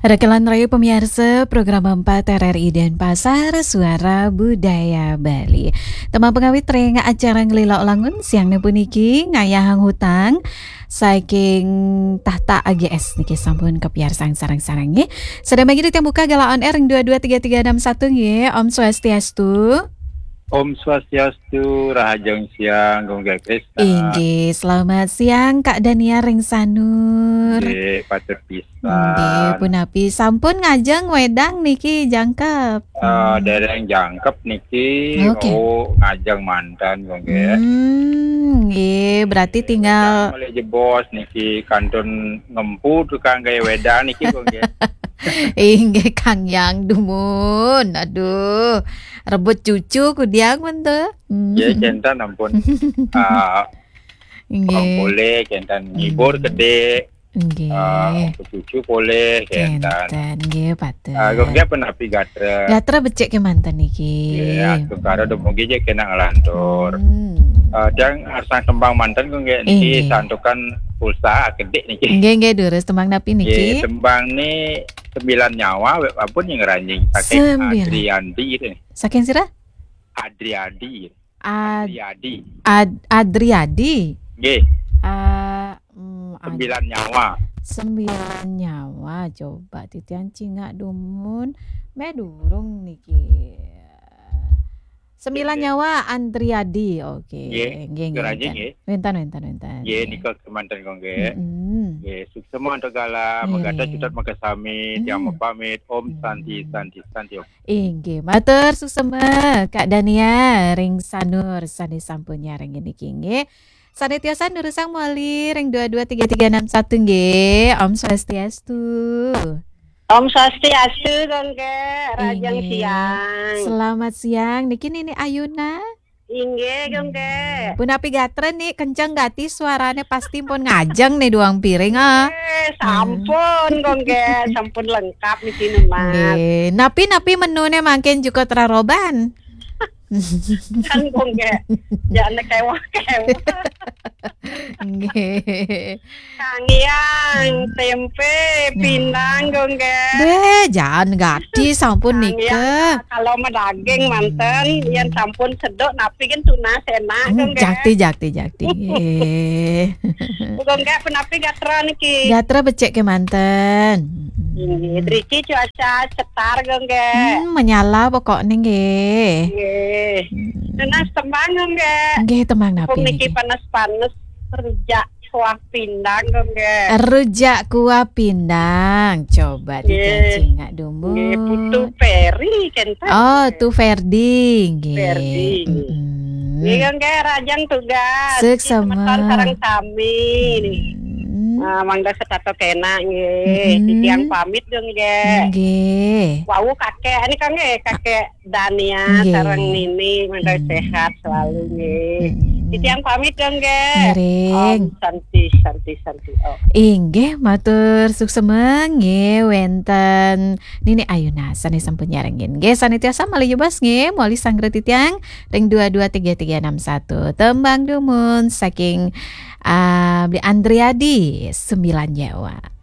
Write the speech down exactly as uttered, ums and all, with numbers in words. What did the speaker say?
Rekelan rayu pamiarsa program empat R R I Denpasar, Suara Budaya Bali. Tembang pangawit ring acara Nglila Langun siang puniki ngayahang hutang saking Tahta A G S niki sampun kapiarsang sareng-sareng nggih. Sadaya mangkin titiang buka galah on air ring dua dua tiga tiga enam satu nggih. Om Swastiastu. Om Swastiastu, rahajeng siang, Gung Krista. Inggih, selamat siang, Kak Dania ring Sanur. Nggih, patut pisan. Nggih, punapi sampun ngajeng wedang niki jangkep? Eh, Hmm. Dereng jangkep niki, Oke. Wau ngajeng manten, Gung Ge. Hmm, nggih, berarti Wedang tinggal malih jebos niki kantun ngempu tukang gawe wedang niki, Gung Ge. Inggih, Kang Yang dumun. Aduh, rebut cucu kudiang men to. Hmm. Ya, jantan ampun. Ah, Nggih. Orang polih, jantan ngibur Hmm. gede. Nggih. Ah, cucu polih, jantan. Jantan, nggih, patut. Ah, Gung Ge punapi gatra? Gatra becik kemanten niki. Nggih, aku karo dumugi je kena ngelantur. Hmm. Ah, tiang arsang tembang manten, Gung Ge, niki Inggih. Santukan pulsa gede niki. Nggih, nggih, durus tembang napi niki? Nggih, tembang ni Sembilan Nyawa, wek ampun yang ranjing. Saking Sembilan. Adriandi niki. Saking sira? Adriadi. Ad-, Adriadi. Ad-, Adriadi. Nggih. Ah, mm, Ad-, Sembilan Nyawa. Sembilan Nyawa, coba titiang cingak dumun. Meh durung niki. Sembilan Nggih. Nyawa Andriadi. Oke. Nggih. Nggih, nggih, Keraji, wenten. Nggih. Wenten, wenten, wenten. Nggih, nggih. Nika kemanten, Gung Ge. Mm-mm. Nggih, suksema antuk galah, Nggih. Megata cutet makasami, tiang Mm. mapamit. Om Santi, Mm. Santi, Santi, Om. Inggih, matur suksema, Kak Dania ring Sanur sane sampun nyarengin niki nggih. Sane tiosan durusang malih ring dua dua tiga tiga enam satu nggih. Om Swastiastu. Om Swastiastu, Gung Ge. Rahajeng Inggih. Siang. Selamat siang. Niki Nini Ayuna. Inggih, Gung Ge. Punapi gatra ni, kenceng gati suarane, pasti pun ngajeng ni duang piring, ah. Eh, sampun, Gung Ge. Sampun lengkap niki, Mas. Nggih. Napi-napi menune mangkin juga teraroban? Kan, Gung Ge. Jangan kewah-kewah. Nggih. Kangiang, tempe, Nah. Pindang, Gung Ge. Beh, jangan gati sampun Kangiang, nika. Kalau medaging Hmm. manten, yen sampun seduk napi kan tunas enak, Hmm, Gung Ge. Jakti, jakti, jakti. Nggih. Gung Ge, punapi gatra niki? Gatra becik kemanten. Nggih, driki cuaca cetar, Gung Ge. Hmm, menyala pokokne nggih. Nggih. Hmm. Tunas tembang, Gung Ge. Nggih, tembang napi Mumpung niki niki? Panas-panas, rujak kuah pindang, Gung Ge. Rujak kuah pindang. Coba Nggih. Dicacingak dumun. Nggih, Putu Ferry, kenten. Oh, Tu Ferdi, nggih. Ferdi. Mm-mm. Nggih, Gung Ge, rahajeng tugas. Suksema. Semeton sareng sami. Mm. Ah, mangda setata kenak, nggih. Mm-mm. Titiang pamit, Gung Ge. Nggih. Wau kakek, ini, Kang, nggih, kakek Dania Nggih. Sareng Nini, mangda Hmm. sehat selalu, nggih. Hmm. Titiang pamit, Gung Ge. Ngiring. Om Santi, Santi, Santi, Om. Inggih, matur suksema, nggih, wenten Nini Ayuna sane sampun nyarengin. Nggih, sane tiasa malih jebos, nggih, malih sanggra titiang ring dua dua tiga tiga enam satu. Tembang dumun saking, ah, Bli Andriadi, Sembilan Nyawa.